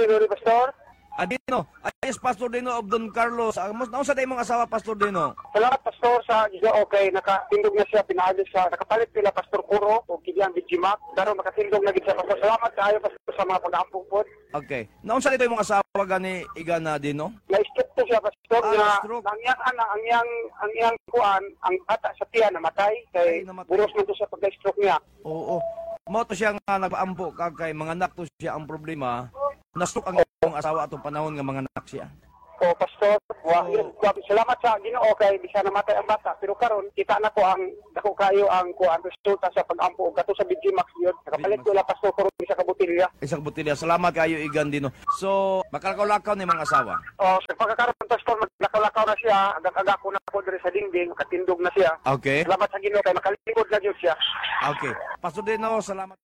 Dino ni Pastor. Adino, ayos, Pastor Dino of Don Carlos. Naunsa day imong asawa, Pastor Dino? Salamat, Pastor, sa Ginoo kay nakatindog na siya pinaagi sa nakapalit nila Pastor Kuro o kidiyang Bijimak. Daron makatindog na gid siya, Pastor. Salamat kaayo, Pastor, sa mga pag-ampo pod. Okay. Naunsa day imong asawa gani, Igan na Dino? Na-stroke to siya, Pastor, Ah, nga na-stroke. ang ana ang iyang kuan, ang bata sa tiyan namatay kay Ay, namatay. Buros man to sa pagka-stroke niya. Oo. Mao to siya nga nagpaampo ka kay mga anak to siya ang problema. Na-stroke ang imong asawa atong panahon nga mga anak siya. O Pastor, wa, So- salamat sa Ginoo kay bisa namatay ang bata pero karon kita na ko ang dako kayo ang kuan resulta sa pag-ampo og kato sa BG Max yun. Nakapalit ko la, Pastor, karon isa ka botelya. Isang botelya. Salamat kayo, Igan Dino. So, makalakaw-lakaw ni mga asawa. O sa pagkakaroon, Pastor, maglakaw-lakaw na siya, agak-agak ko na ko diri sa dingding, makatindog na siya. Salamat sa Ginoo kay makalingkod na gyud siya. Okay. Pastor Dino, salamat.